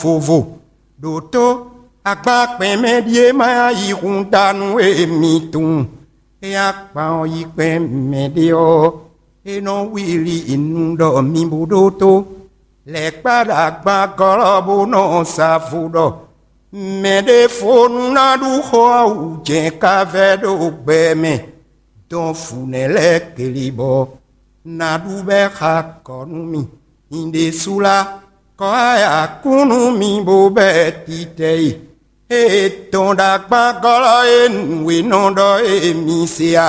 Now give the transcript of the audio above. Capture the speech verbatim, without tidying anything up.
vovo. Ɖǒtó agban kpɛn mɛ ɖíe ma yá yi hun da nú émí tunwun. É yá kpan ɔ́ yi kpɛn mɛ ɖé ɔ́, é nɔ wlí nu ɖɔ mi bó ɖótó. Lɛ̌ kpá ɖo agban gɔ́lɔ́ bó nɔ sa vo ɖɔ mɛ ɖěvo nu ná ɖú xó ɔ́ wú jɛ̌n ká vɛ́ ɖo gbɛ mɛ. Dɔn vǔ nɛ́ lɛ́ɛ keli bɔ ná ɖu bɛ́ xa kɔ̌ nú mì. Nyɛ ɖésú lá, kɔ́ ayǎ kún nú mi bó bɛ́ titɛ e. Ée dɔn ɖo agban gɔ́lɔ́ e nǔ e nɔ ɖɔ e mi se a?